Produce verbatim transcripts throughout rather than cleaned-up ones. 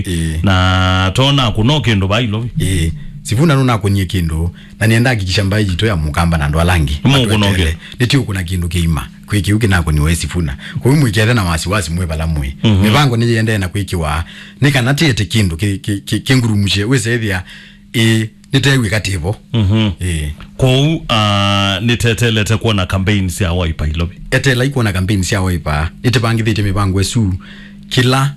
Ĩĩ. Na tona kũno kĩndũ vaa Ilovi. Ĩĩ. Sifuna nũnakũnie kĩndũ, na nĩenda hakikisha mbaĩ yitũ ya Mũkamba na andũ ala angĩ. Mũkũno kĩndũ. Nĩtiũkũna kĩndũ kĩima. Kwĩ kĩu kĩnakũniwe Sifuna. Kũu mwĩkethe na wasiwasi mwĩ vala mwĩ. Mhm. Mĩvango nĩyĩendee na kwĩkĩwa. Nĩ kana tĩete kĩndũ kĩ, kĩ, kĩ, kĩngurumusye, wĩsethĩa, ĩĩ, nĩteew'ĩka tĩvo. Mhm. Ĩĩ. Kwoou, ah, nĩtetelete kwona campaign sya Wiper Ilovi. Etelai kwona campaign sya Wiper. Nĩtĩvangĩthĩtye mĩvango ĩsu kĩla,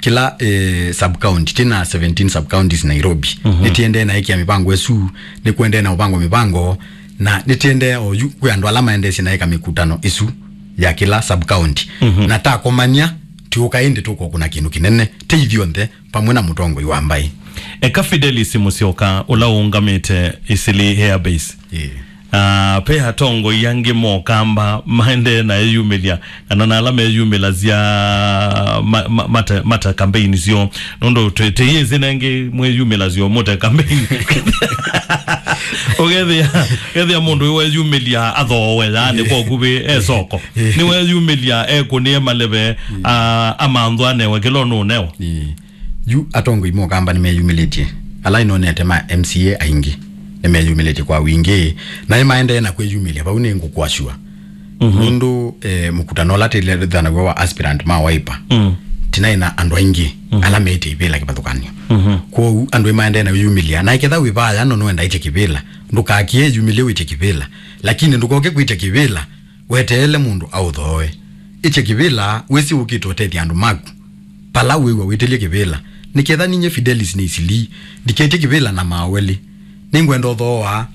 kĩla, eh, sub county. Twĩ na seventeen sub counties Nairobi. Mhm. Nĩtĩendee na ĩkĩa mĩvango ĩsu, nĩkũendee na ũvango mĩvango, na nĩtĩendee oyu kwĩ andũ ala maendeesye na ĩka mĩkutano ĩsu ya kĩla sub county. Mhm. Na takomany'a, tũũka ĩndĩ tũkokũna kĩndũ kĩnene, tĩ ithyonthe, vamwe na mũtongoi wa mbaĩ. Eka Fidelis Musyoka, ũla ũũngamĩte Eastleigh Air Base. Ĩĩ. Ah, ve atongoi angĩ mokamba maendee na eyumĩlya, kana na ala meyumĩlasya ma-, ma-, mata, mata campaign syoo. Nũndũ twĩ-, tĩyĩsĩ nengĩ mwĩyumĩlasyo mũte campaign. Ũkethĩa, ũkethĩa mũndũ weyumĩlya athoowe, yaani, kwa ũkuvĩ, e soko. Nĩweyumĩlya ekũnĩe maleve, ah, amanthwa anewe kĩla ũnũũnewa. Ĩĩ. Yu atongoi mokamba nĩmeyumĩlĩtye. Ala ĩnonete ma M C A aingĩ nĩmeyumĩlĩtye kwa wingĩ, na nĩmaendee na kwĩyumĩlya vau, nĩ ngũkwasua. Mhm. Nũndũ, eh, mũkutano ũla tĩlethanaw'a wa aspirant ma Wiper, mm, tinaĩ na andũ aingĩ, mhm, ala meĩtye ivĩla kĩvathũkany'o. Mhm. Kwoou andũ nĩmaendee na kwĩyumĩlya. Na ĩketha wĩ vaya no nũenda ĩtye kĩvĩla, ndũkakie yumĩlye wĩtye kĩvĩla. Lakini ndũkoke kwĩtya kĩvĩla weteele mũndũ aũthooe. Ĩtya kĩvĩla wĩsĩ ũkĩte ũtethya andũ maku. Pala wĩw'a wĩtĩlye kĩvĩla. Nĩketha ninyie Fidelis nĩ Eastleigh, ndiketye kĩvĩla na maawelĩ. Nĩngwenda ũthooa,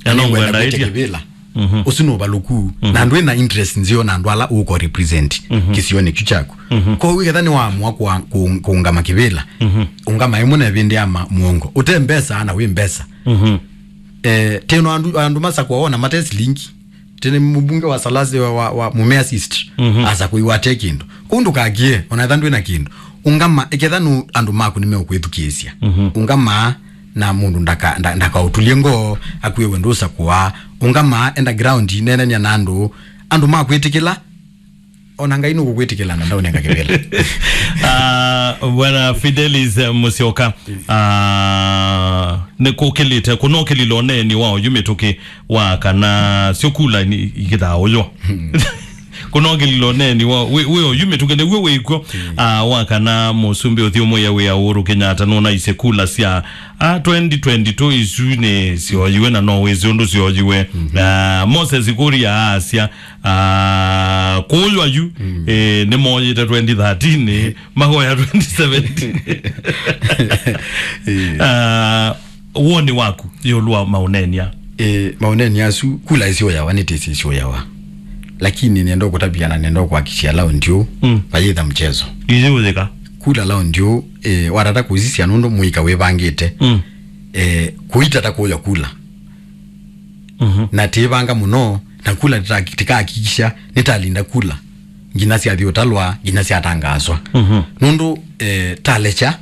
na nĩngwenda kwĩtya kĩvĩla. Mhm. Ũsu nĩ ũvalũku. Mhm. Na ndwĩ na interest nzeo na andũ ala ũko represent, mhm, kĩsionĩ kyu kyaku. Mhm. Kwoou ĩketha nĩwaamũa kũa-, kũ-, kũũngama kĩvĩla, mhm, ũngama ĩmwe na ĩvĩndĩ ya ma-, mũongo. Ũte mbesa na wĩ mbesa. Mhm. Eh, teno andũ, andũ masakwa wona mate silingi. Tene mũmbunge wa Salasi wa, wa, wa Mumias East, mhm, asa kũiwa ate kĩndũ. Kũu ndũkakie, ona etha ndwĩ na kĩndũ. Ũngama, ĩketha nũ andũ maku nĩmeũkwĩthukĩĩsya. Mhm. Ũngama na mũndũ ndaka-, nda-, ndakaũtulye ngoo, akwĩwe ndũsakũa. Ũngama, enda ground, nenania na andũ. Andũ makwĩtĩkĩla, ona Ngai nũkũkwĩtĩkĩla na ndaũnenga kĩvĩla. Ah, Bwana Fidelis, eh, Musyoka, ah, nĩkũkĩlĩte, kũnokĩlile ũneeni wa oyu mĩtũkĩ wa kana syo kula ni-, ikĩthaa ũyũ. Kũnokĩlile ũneeni wa, wĩ, wĩ oyu mĩtũkĩ nĩw'o wĩkw'o, ah, wa kana mũsumbĩ ũthyũmũĩa wĩa Uhuru Kenyatta nũnaisye kula sya, ah, twenty twenty-two isu nĩ syoyiwe na no wĩsĩ ũndũ syoyiwe. Mhm. Ah, Moses Kuria aasya, ah, kũywa yu, mm, eh, nĩmoyĩte twenty thirteen, eh, mahoya twenty seventeen. Eh. Ah, woni waku ĩũlũ wa maũneenĩa? Eh, maũneenĩa asu, kula isyoyawa, nĩtĩsĩ isyoyawa. Lakini nenda kũtavya na nenda kuhakikishia laundi ũũ, mm, vayĩtha mchezo. Iyũyĩka. Kula laundi ũũ, eh, watata kũsisya nũndũ mũika wĩvangĩte. Mm. Eh, kũitata kũya kula. Mhm. Na tĩĩvanga mũno, na kula tĩka-, tĩkahakikisha nĩtalinda kula nginya syathi ũtalwa, nginya syatangaaswa. Mhm. Nũndũ, eh, talekya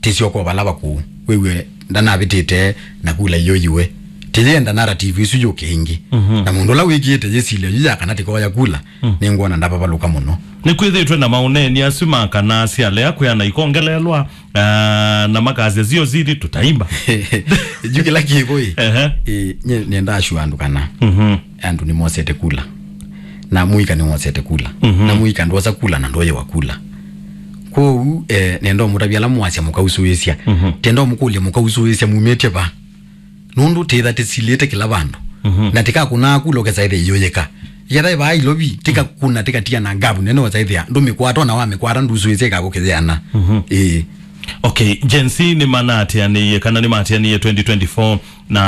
tĩsyoka vala vakũũ, wĩw'e ndanavĩtĩte na kula iyũyiwe. Tĩyenda narrative isu yũke ĩngĩ. Mhm. Na mũndũ ũla wĩkĩĩte yĩsilya yu ya kana tĩkoya kula, mm, nĩngwona ndavavalũka mũno. Nĩkwĩthĩtwe na maũneeni asu ma kana syalea kwĩana ikongelelwa, ah, na makasya sio sili tutaimba. Yu kĩla kĩvo ĩ. Ehe. Ĩ, nye nenda ashua andũ kana, mhm, andũ nĩmosete kula. Na mũika nĩwosete kula. Mhm. Na mũika ndwosa kula na ndwoyewa kula. Kwoou, eh, nenda ũmũtavya ala mwasya mũkausũĩsya. Mhm. Tenda ũmũkũlya mũkausũĩsya mumĩtye va. Nũndũ tĩtha tĩsilĩte kĩla vandũ. Mhm. Na tĩkakũnaa kula ũkesa ĩthe iyũyĩka. Yetha ĩvaa ilovi, tĩkakũna, tĩkatia na ngavu nene ũsa ĩthĩa ndũmĩkwata, ona wamĩkwata ndusũĩsya ĩkakũkĩtheana. Mhm. Ĩĩ. Okay, Gen Z nĩmanaatĩanĩie kana nĩmaatĩanĩie twenty twenty-four na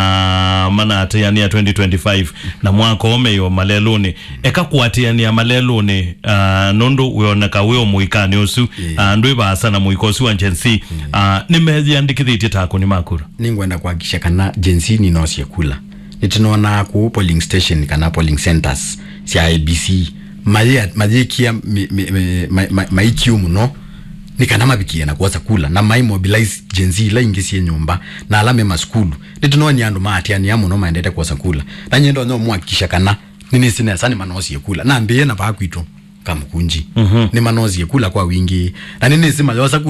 manaatĩanĩa twenty twenty-five na mwaka ũũ meĩo malelũnĩ. Eka kũatĩanĩa malelũnĩ, ah, nũndũ wĩoneka wĩ o mũikanĩ ũsu, ĩĩ, ah, ndwĩ vaasa na mũika ũsu wa Gen Z, ĩĩ, ah, nĩmeyĩandĩkĩthĩtye ta akũni ma kura. Nĩngwenda kuhakikisha kana Gen Z nĩnosie kula. Nĩtũnonaa kũu polling station kana polling centers sya I E B C, mayĩ-, mayĩkĩa mi-, mi-, mi-, ma-, ma-, maikiũ mũno nĩ kana mavikie na kwosa kula, na mai mobilize Gen Z ila ingĩ syĩ nyũmba na ala me masukulu. Nĩtũnonie andũ maatĩanĩa mũno maendete kwosa kula. Na nyie ndonya ũmũhakikisha kana nĩnĩsĩ nesa nĩmanosie kula. Nambĩĩe na vaa kwitũ Kamũkunji. Mhm. Nĩmanosie kula kwa wingĩ. Na nĩnĩsĩ mayosa kula